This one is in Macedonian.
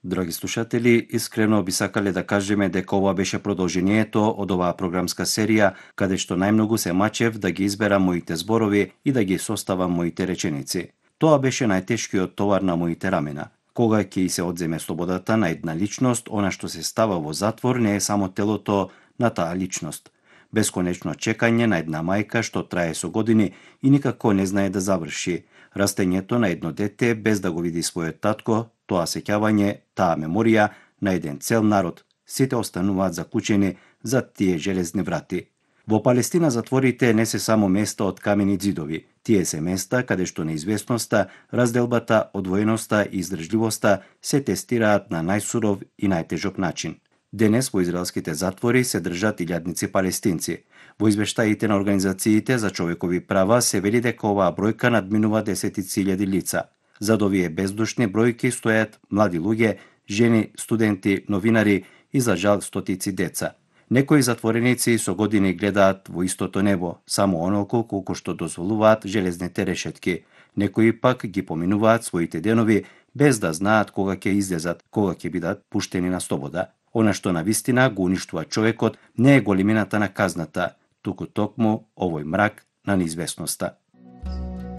Драги слушатели, искрено би сакале да кажеме дека ова беше продолжението од оваа програмска серија, каде што најмногу се мачев да ги изберам моите зборови и да ги составам моите реченици. Тоа беше најтешкиот товар на моите рамена. Кога ќе се одземе слободата на една личност, она што се става во затвор не е само телото на таа личност. Бесконечно чекање на една мајка што трае со години и никако не знае да заврши. Растењето на едно дете без да го види својот татко, тоа сеќавање, таа меморија на еден цел народ. Сите остануваат заклучени за тие железни врати. Во Палестина затворите не се само места од камени ѕидови. Тие се места каде што неизвестноста, разделбата, одвоеноста и издржливоста се тестираат на најсуров и најтежок начин. Денес во израелските затвори се држат илјадници палестинци. Во извештаите на организациите за човекови права се вели дека оваа бројка надминува 10.000 лица. Зад овие бездушни бројки стојат млади луѓе, жени, студенти, новинари и за жал стотици деца. Некои затвореници со години гледаат во истото небо, само онолку колку што дозволуваат железните решетки. Некои пак ги поминуваат своите денови без да знаат кога ќе излезат, кога ќе бидат пуштени на слобода. Она што навистина го уништува човекот не е големината на казната, туку токму овој мрак на неизвестноста.